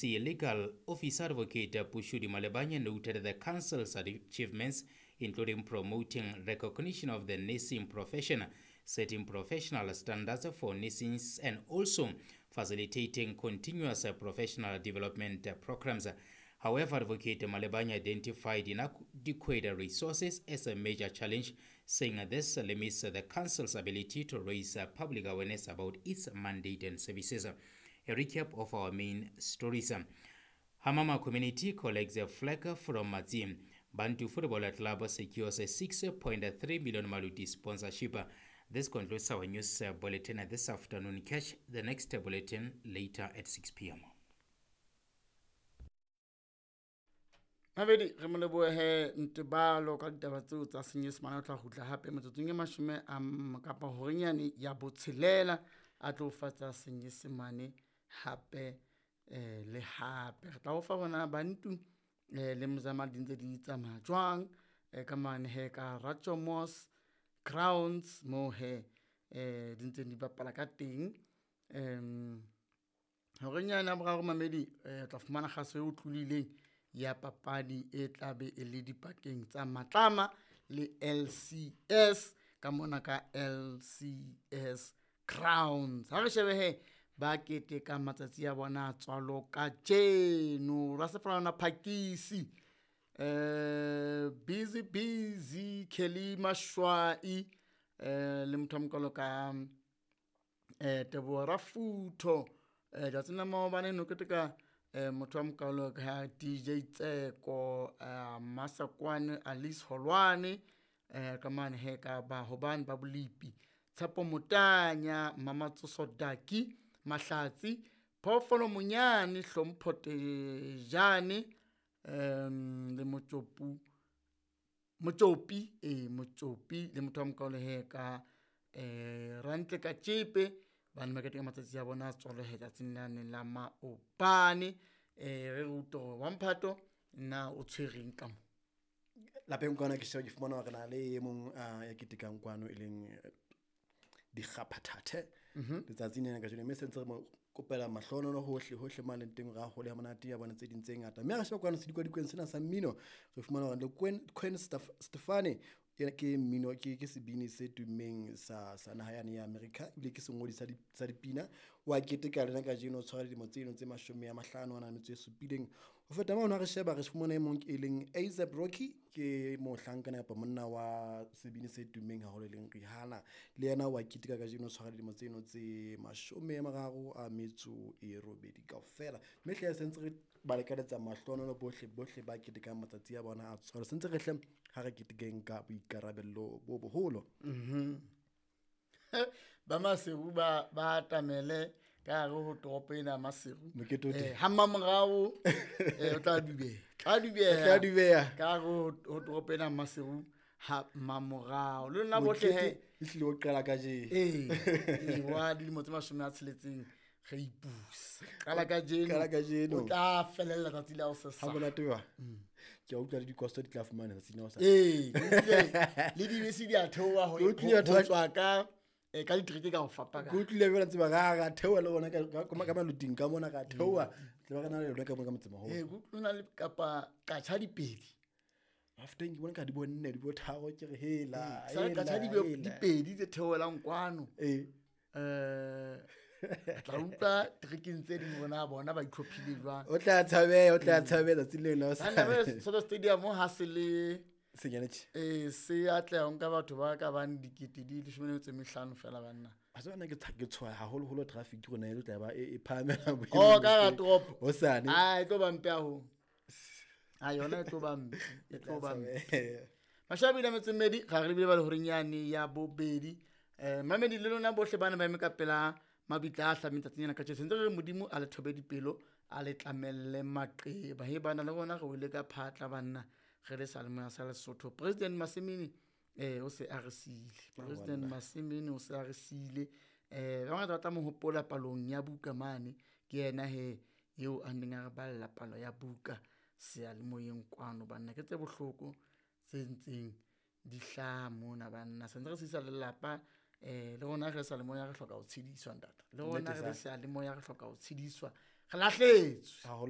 Legal Officer Advocate Pushudi Malebanya noted the council's achievements, including promoting recognition of the nursing profession, setting professional standards for nursing, and also facilitating continuous professional development programs. However, Advocate Malebanya identified inadequate resources as a major challenge, saying this limits the council's ability to raise public awareness about its mandate and services. A recap of our main stories. Hamama community collects a flag from Matsi. Bantu Football Club secures a 6.3 million Maluti sponsorship. This concludes our news bulletin this afternoon. Catch the next bulletin later at 6 p.m. Mabedi re mo lebohe Ntebalo ka ditaba tseo tsa Senyesemane. O tla kgutla hape metsotsong e mashome a kapa horenyane ya botshelela a tlo fatsa Senyesemane hape le hape. Re tla o fa rona Bantu le Mzama di ntse di tsamaya jwang ka mane he ka Rachomos Crowns mo he di ntse di bapala ka teng. Horenyane ya boraro mamedi tla fumana kgaso e utlwileng ya papadi e tlabe e le dipakeng tsa Matlama le LCS ka mona ka LCS Crowns. Ha re shebe he ba keteka matsatsi a bona tswalo kajeno. Rasefalana Phakisi, Busy Busy Kelly Mashwai, le motho wa mokalo ka Teboho Rafutho, tsatsing la maobane no keteka motho wa mokalo ka DJ Tseko, Masakwane Alice Holwane, ka mane he ka ba hobane ba bolipi, Tshepo Motanya, Mama Tsoso Daki Mahlatsi, Phoofolo Monyane, Hlompho Tejane, le Motsopi le motho wa mokalo he ka Rantle ka Tjepe. Ba ne ba keteka matsatsi a bona a tswalo he tsatsing lane la maobane. Re rute hore wa mphato na o tshwereng ka mo lapeng kwana. Ke sheba ke fumana hore na le e mong ya ketekang kwano e leng dikgaphathathe letsatsing lena kajeno, mme sentse re mo kopela mahlohonolo hohle hohle mo a leng teng, ra hole ha monate ya bona tse ding tse ngata. Mme ha re sheba kwano sedikwadikweni sena sa mmino, re fumana hore le Gwen Stefani ke mmino, ke sebini se tummeng sa naha yane ya America, ebile ke sengodi sa dipina. Wa keteka lena kajeno, o tshwara dilemo tseno tse 50 a na metso e supileng. Ho feta mono ha re sheba re fumana e mong e leng A$AP Rocky, ke mohlankana kapa monna wa sebini se tummeng haholo e leng Rihanna, le yena wa keteka kajeno, o tshwara dilemo tseno tse 38 kaofela. Mme hle sentse re ba lekaletsa mahlohonolo bohle bohle ba ketekang matsatsi a bona a tswalo. Sentse re hle ha re ketekeng ka boikarabello bo boholo. Ba Maseru ba atamele ka hare ho toropo ena ya Maseru. Ha mmamorao o tla dubeha. Ka hare ho toropo ena ya Maseru ha mmamorao. Le lona bohle he e hlile ho qala kajeno. Wa dilemo tse 60 re ipusa. Qala kajeno. O tla felella tsatsi la hosasa. Ha monate wa. Ke a utlwa le dikosto di tla fumana tsatsi la hosasa. Le dibese di a theoha ho tswa ka ka ditereke ka ho fapana. Ke utlwile jwale tseba ra theoha le bona ka maluting ka mona ka theoha. Tle ba re na le yona ka mona ka motsemaholo. Ke utlwa le kapa katjha dipedi. After ke bona ka di bonne di bo tharo ke re hela. Sa katjha dipedi tse theohelang kwano. Tla utlwa terekeng tse ding bona bona ba itlhophile jwang. O tla tshabeha tsatsi leo la hosasa. Soto Stadium ha se le senyane tje. Se atleha ho nka batho ba ka bang 15,000 fela banna. A tsona ke tshoha haholoholo traffic rona e tla ba e phahamela boemo. Oh ka toropo. Hosane. Ah e tlo ba mpe haholo. Ah yona e tlo ba mpe, e tlo ba mpe. Mashabi le metso mmedi ga re lebile ba le horenyane ya bobedi. Mamedi le lona bohle bana ba eme ka pela mabitla a hlameng tsatsing lena kajeno. Sentse re re Modimo a le thobe dipelo, a le tlamelle maqeba. He bana le rona re wele ka phatla banna, re le seyalemoya sa Lesotho. President Masimini o se a re siile. President Masimini o se a re siile. Ba bangata ba tla mo hopola palong ya buka mane. Ke yena he eo a neng a re balla palo ya buka seyalemoyeng kwano banna. Ke tse bohloko tse ntseng di hlaha mona banna. Sentse re sisa lelapa. Le rona re sa le moya re hloka ho tshediswa ntate. Le rona re sa le moya re hloka ho tshediswa. Re lahletswe. Haholo.